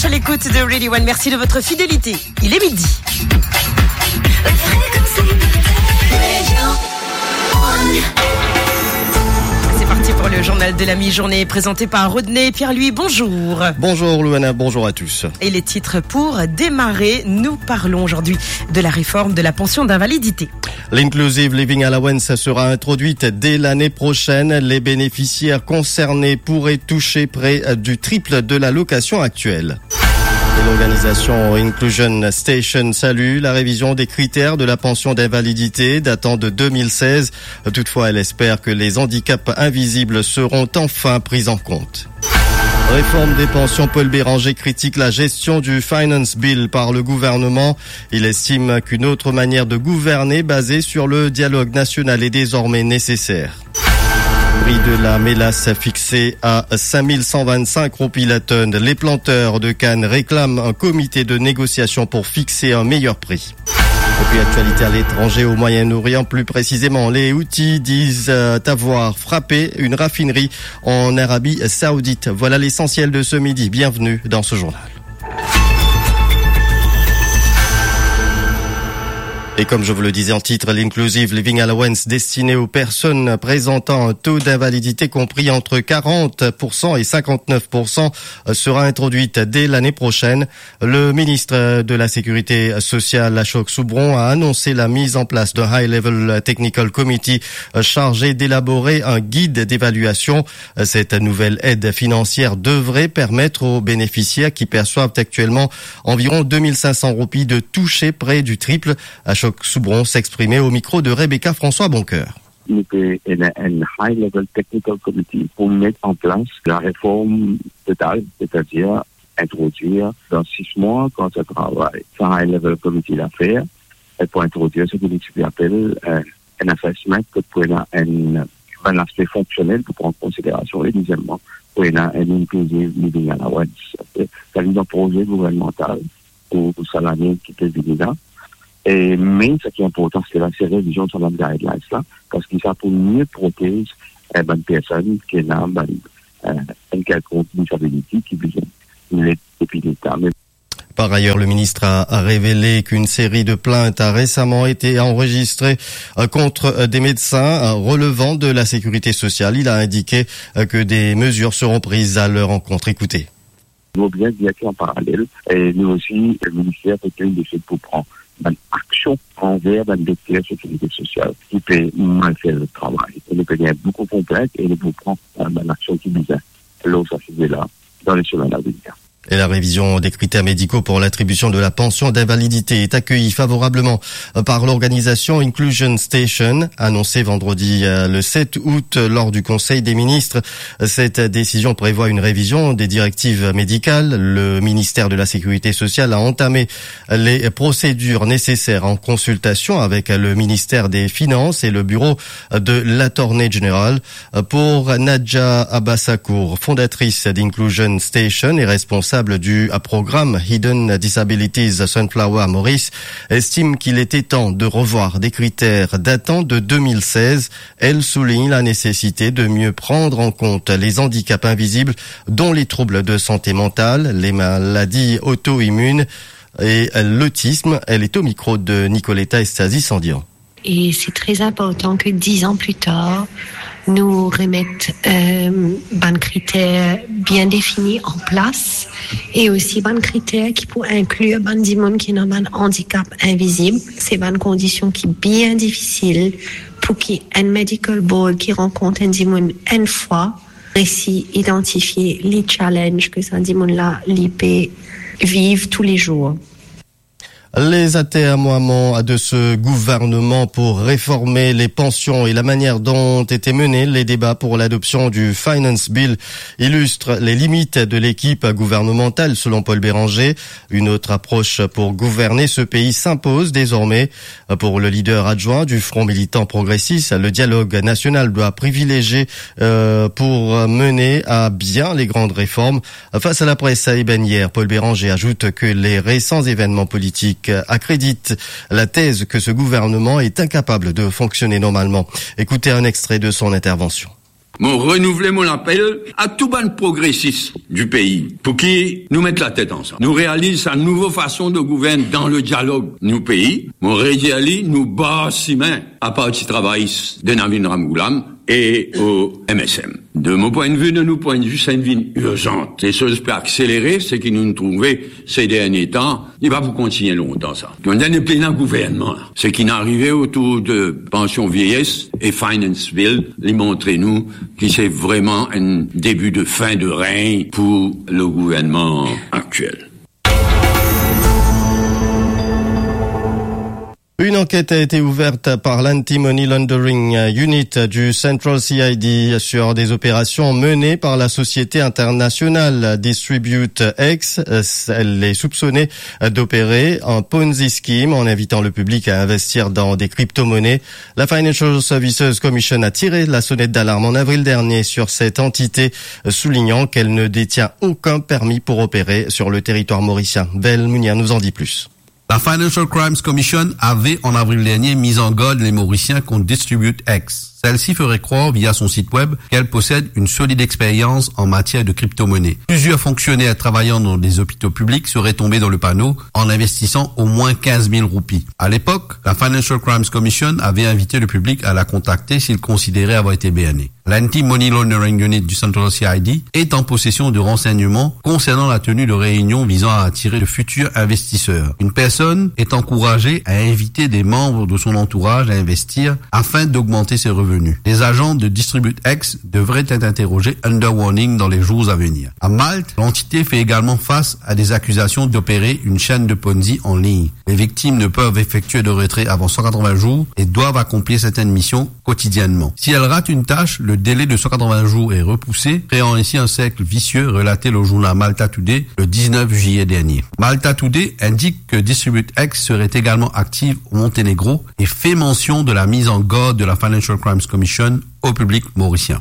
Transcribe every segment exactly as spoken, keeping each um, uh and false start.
À l'écoute de Radio One, merci de votre fidélité. Il est midi. C'est parti pour le journal de la mi-journée présenté par Rodney Pierre-Louis. Bonjour. Bonjour Louana, bonjour à tous. Et les titres pour démarrer, nous parlons aujourd'hui de la réforme de la pension d'invalidité. L'Inclusive Living Allowance sera introduite dès l'année prochaine. Les bénéficiaires concernés pourraient toucher près du triple de l'allocation actuelle. Et l'organisation Inclusion Station salue la révision des critères de la pension d'invalidité datant de deux mille seize. Toutefois, elle espère que les handicaps invisibles seront enfin pris en compte. Réforme des pensions, Paul Bérenger critique la gestion du Finance Bill par le gouvernement. Il estime qu'une autre manière de gouverner basée sur le dialogue national est désormais nécessaire. Prix de la mélasse fixé à cinq mille cent vingt-cinq roupies la tonne. Les planteurs de canne réclament un comité de négociation pour fixer un meilleur prix. Et puis, actualité à l'étranger, au Moyen-Orient, plus précisément, les Houthis disent, euh, avoir frappé une raffinerie en Arabie Saoudite. Voilà l'essentiel de ce midi. Bienvenue dans ce journal. Et comme je vous le disais en titre, l'Inclusive Living Allowance destinée aux personnes présentant un taux d'invalidité compris entre quarante pour cent et cinquante-neuf pour cent sera introduite dès l'année prochaine. Le ministre de la Sécurité sociale, Ashok Soubron, a annoncé la mise en place d'un High Level Technical Committee chargé d'élaborer un guide d'évaluation. Cette nouvelle aide financière devrait permettre aux bénéficiaires qui perçoivent actuellement environ deux mille cinq cents roupies de toucher près du triple. Ashok Soubron s'exprimait au micro de Rebecca François Boncoeur. Nou pe ena enn high level technical committee pou met an plas la reform total, setadir introdwir dan sis mwa, kan sa travay sa high level committee la fer, e pou introdwir seki li ti pe apel, eh, enn assessment, kot pou ena enn, bann laspe fonksionel pou pran konsiderasion, e dezieman, pou ena enn inclusive living allowance. Sa vinn dan proze gouvernmantal pou, pou sa lane ki pe vini la. E, me seki inportan, se la, se revizion sa bann guidelines la, parski sa pou mie protez, eh, bann personn ki ena bann, eh, enn kelkonk disability ki bizin led depi Leta. Me Par ailleurs, le ministre a, a révélé qu'une série de plaintes a récemment été enregistrée, euh, contre, euh, des médecins, euh, relevant de la sécurité sociale. Il a indiqué, euh, que des mesures seront prises à leur encontre. Écoutez. Nou bizin dir ki an paralel, e nou osi, le minister pe pran desi pou pran bann aksion anver bann dokter sekirite sosial ki pe mal fer zot travay. E nou pe gagn boukou konplent e nou pou pran, eh, bann aksion ki bizin lor sa size la dan le semenn a venir. Et la révision des critères médicaux pour l'attribution de la pension d'invalidité est accueillie favorablement, euh, par l'organisation Inclusion Station, annoncée vendredi, euh, le sept août lors du Conseil des ministres. Cette décision prévoit une révision des directives médicales. Le ministère de la Sécurité sociale a entamé les procédures nécessaires en consultation avec le ministère des Finances et le bureau de l'Attorney General. Pour Nadja Abassakour, fondatrice d'Inclusion Station et responsable du programme Hidden Disabilities Sunflower Maurice, estime qu'il était temps de revoir des critères datant de deux mille seize. Elle souligne la nécessité de mieux prendre en compte les handicaps invisibles, dont les troubles de santé mentale, les maladies auto-immunes et l'autisme. Elle est au micro de Nicoletta Estasi Sandian. E se tre inportan ke diz an pli tar, nou remet, eh, bann kriter bien defini an plas e osi bann kriter ki pou inklir bann dimoun ki ena bann andikap invizib. Se bann kondision ki bien difisil pou ki enn medical board ki rankont enn dimoun enn fwa resi idantifie le challenge ke sa dimoun la li pe viv toulezour. Les atermoiements de ce gouvernement pour réformer les pensions et la manière dont étaient menés les débats pour l'adoption du Finance Bill illustrent les limites de l'équipe gouvernementale, selon Paul Bérenger. Une autre approche pour gouverner ce pays s'impose désormais. Pour le leader adjoint du Front militant progressiste, le dialogue national doit privilégier, euh, pour mener à bien les grandes réformes. Face à la presse à Eben hier, Paul Bérenger ajoute que les récents événements politiques accréditent la thèse que ce gouvernement est incapable de fonctionner normalement. Écoutez un extrait de son intervention. Mo renouvle mo lapel a tou bann progresis di pei, pou ki nou met latet ansam. Nou realiz sa nouvo fason de gouvern dan le dialog nou pei. Mo redir li, nou bar simin a Parti Travayis de Navin Ramgoolam e o M S M. De mo pwin de vi, de nou pwin de vi, sa inn vinn irzan. Lesoz pe akselere, seki nou trouve se dernie tan, li pa pou kontigne lontan sa. Donk, nou pena gouvernman la. Seki inn arive otour de pansion vieyes e Finance Bill, li montre nou ki se vreman enn debi de fin de regn pou le gouvernman aktiel. Une enquête a été ouverte par l'Anti-Money Laundering Unit du Central C I D sur des opérations menées par la société internationale Distribute X. Elle est soupçonnée d'opérer un Ponzi scheme en invitant le public à investir dans des crypto-monnaies. La Financial Services Commission a tiré la sonnette d'alarme en avril dernier sur cette entité, soulignant qu'elle ne détient aucun permis pour opérer sur le territoire mauricien. Vel Mounia nous en dit plus. La Financial Crimes Commission avait, en avril dernier, mis en garde les Mauriciens contre Distribute X. Celle-ci ferait croire, via son site web, qu'elle possède une solide expérience en matière de crypto-monnaie. Plusieurs fonctionnaires travaillant dans des hôpitaux publics seraient tombés dans le panneau en investissant au moins quinze mille roupies. À l'époque, la Financial Crimes Commission avait invité le public à la contacter s'il considérait avoir été berné. L'Anti-Money Laundering Unit du Central C I D est en possession de renseignements concernant la tenue de réunions visant à attirer de futurs investisseurs. Une personne est encouragée à inviter des membres de son entourage à investir afin d'augmenter ses revenus. Les agents de Distribute X devraient être interrogés under warning dans les jours à venir. À Malte, l'entité fait également face à des accusations d'opérer une chaîne de Ponzi en ligne. Les victimes ne peuvent effectuer de retrait avant cent quatre-vingts jours et doivent accomplir certaines missions quotidiennement. Si elle rate une tâche, le délai de cent quatre-vingts jours est repoussé, créant ainsi un cercle vicieux, relaté le journal Malta Today le dix-neuf juillet dernier. Malta Today indique que Distribute X serait également active au Monténégro et fait mention de la mise en garde de la Financial Crimes Commission au public mauricien.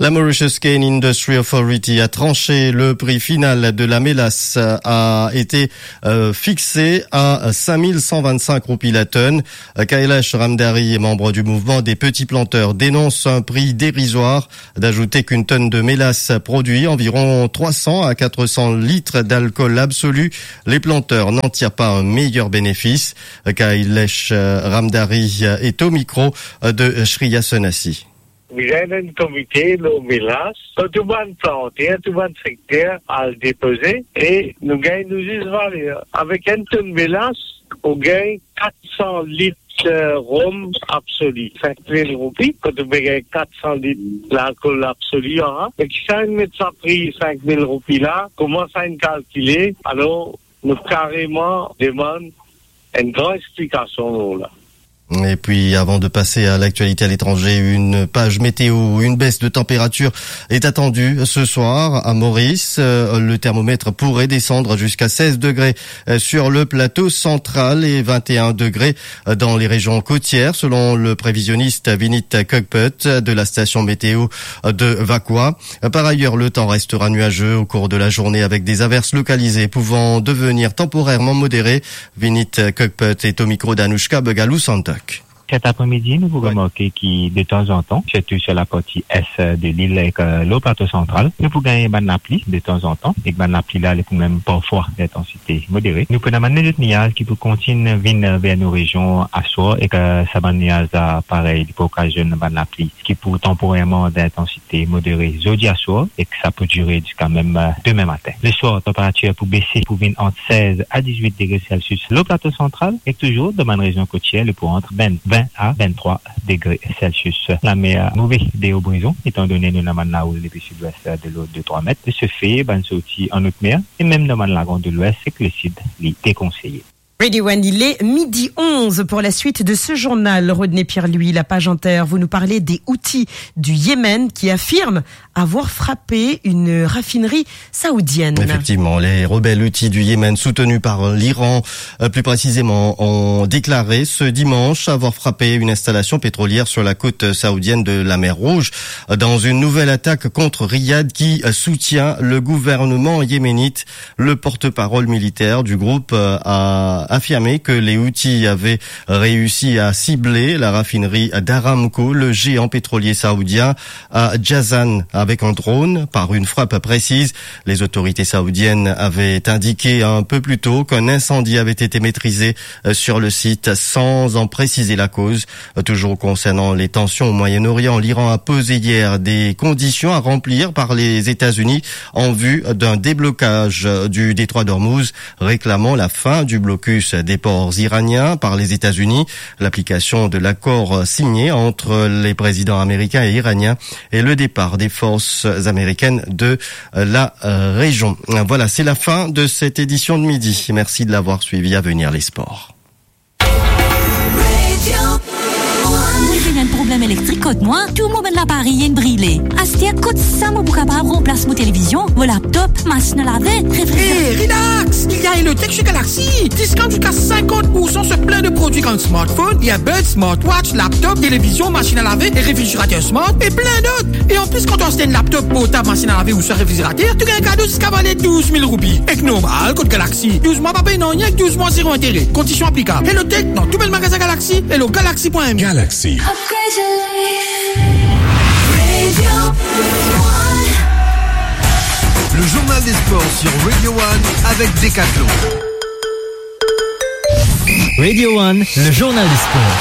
La Mauritius Cane Industry Authority a tranché. Le prix final de la mélasse a été, euh, fixé à cinq mille cent vingt-cinq roupies la tonne. Kailash Ramdhari, membre du mouvement des petits planteurs, dénonce un prix dérisoire, d'ajouter qu'une tonne de mélasse produit environ trois cents à quatre cents litres d'alcool absolu. Les planteurs n'en tirent pas un meilleur bénéfice. Kailash, euh, Ramdhari, euh, est au micro, euh, de Shreya Sonasi. Bizin enn komite lor melas, kot tou bann planter, tou bann sekter al depoze, e nou gagn nou zis valer. Avek enn tonn melas, ou gagn kat san lit, eh, rom absoli, sink mil roupi, kot ou pe gagn kat san lit lalkol absoli, an. Me ki sa inn met sa pri sink mil roupi la, kouma sa inn kalkile? Alor, nou kareman demann enn gran explikasion lor la. Et puis, avant de passer à l'actualité à l'étranger, une page météo, une baisse de température est attendue ce soir à Maurice. Euh, le thermomètre pourrait descendre jusqu'à seize degrés, euh, sur le plateau central et vingt et un degrés, euh, dans les régions côtières, selon le prévisionniste Vinit Kokput de la station météo, euh, de Vacoas. Par ailleurs, le temps restera nuageux au cours de la journée avec des averses localisées pouvant devenir temporairement modérées. Vinit Kokput est au micro d'Anoushka Begalou Santak. Cet après-midi, nou pou remarke ki, de tanzantan, sirtou sur la partie est de l'île ek, euh, le plateau central, nou pou gagn bann lapli de tanzantan, ek bann lapli la, li pou mem parfwa d'intansite modere. Nou pou ena bann lezot niaz ki pou kontign vinn, euh, ver nou rezion aswar, ek, euh, sa bann niaz la, parey, li pou okazionn bann lapli ki pou tanporerman d'intansite modere zordi aswar, ek sa pou dire ziska mem, euh, demin matin. Leswar, tanperatir pou bese, pou vinn ant seize a dizwit degre Celsius le plateau central, ek touzour dan bann rezion kotier, li pou ant vin, vin a vinn-trwa degre Celsius. Lamer move de Obrezon, etandone nou ena bann laroul depi sidwes de lord de trwa met. De se fe, bann sorti an not mer, e mem dan bann lagon de lwes ek lesid, li dekonseye. Radio One, il est midi onze. Pour la suite de ce journal, Rodney Pierre-Louis, la page inter, vous nous parlez des Houthis du Yémen qui affirment avoir frappé une raffinerie saoudienne. Effectivement, les rebelles Houthis du Yémen, soutenus par l'Iran, euh, plus précisément, ont déclaré ce dimanche avoir frappé une installation pétrolière sur la côte saoudienne de la mer Rouge, dans une nouvelle attaque contre Riyad qui, euh, soutient le gouvernement yéménite. Le porte-parole militaire du groupe, euh, a affirmé que les Houthis avaient réussi à cibler la raffinerie d'Aramco, le géant pétrolier saoudien, à Jazan avec un drone par une frappe précise. Les autorités saoudiennes avaient indiqué un peu plus tôt qu'un incendie avait été maîtrisé, euh, sur le site sans en préciser la cause. Euh, toujours concernant les tensions au Moyen-Orient, l'Iran a posé hier des conditions à remplir par les États-Unis en vue d'un déblocage, euh, du détroit d'Ormuz, réclamant la fin du blocus des ports iraniens par les États-Unis, l'application de l'accord, euh, signé entre les présidents américains et iraniens et le départ des forces américaines de, euh, la, euh, région. Voilà, c'est la fin de cette édition de midi. Merci de l'avoir suivi. À venir, les sports. Mo finn enn problem elektrik kot mwa, tou mo bann laparey inn brile. Aster kot sa mo pou kapav ranplas mo televizion, mo laptop, masinn a lave, refrizerat? Hey, relax! Il y a Elotech chez Galaxy. Discount jusqu'à cinquante pour cent sur plein de produits comme smartphone, earbuds, smartwatch, laptop, télévision, machine à laver et réfrigérateur smart et plein d'autres. Et en plus, quand tu achètes un laptop, portable, machine à laver ou soit réfrigérateur, tu gagnes un cadeau jusqu'à valeur douze mille roupies. Et normal, code Galaxy. Douze mois, pas payé, non, rien que douze mois, zéro intérêt. Conditions applicables. Hello Tech, dans tout bel magasin Galaxy, hello galaxy point m. Galaxy. Upgrade your life. Radio One. Le journal des sports sur Radio One avec Decathlon. Radio One, le journal des sports.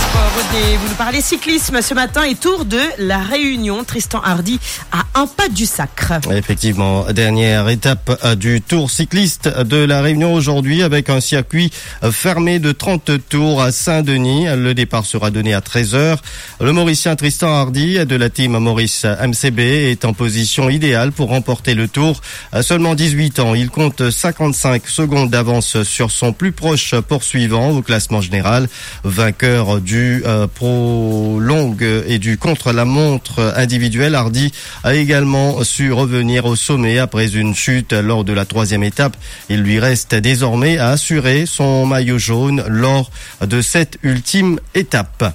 Sport, Rodney, vous nous parlez cyclisme ce matin et Tour de la Réunion. Tristan Hardy à un pas du sacre. Effectivement, dernière étape, euh, du Tour cycliste de la Réunion aujourd'hui avec un circuit, euh, fermé de trente tours à Saint-Denis. Le départ sera donné à treize heures. Le Mauricien Tristan Hardy de la team Maurice M C B est en position idéale pour remporter le Tour. À seulement dix-huit ans, il compte cinquante-cinq secondes d'avance sur son plus proche poursuivant au classement général. Vainqueur du, euh, prolongue et du contre-la-montre individuel, Hardy a également su revenir au sommet après une chute lors de la troisième étape. Il lui reste désormais à assurer son maillot jaune lors de cette ultime étape.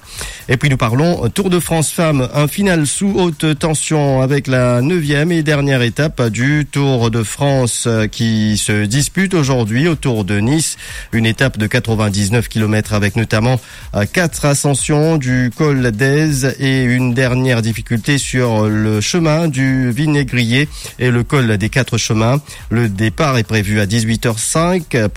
Et puis nous parlons Tour de France Femmes, un final sous haute tension avec la neuvième et dernière étape du Tour de France, euh, qui se dispute aujourd'hui autour de Nice. Une étape de quatre-vingt-dix-neuf kilomètres avec notamment, euh, quatre ascensions du col d'Aise et une dernière difficulté sur le chemin du Vinaigrier et le col des Quatre Chemins. Le départ est prévu à dix-huit heures cinq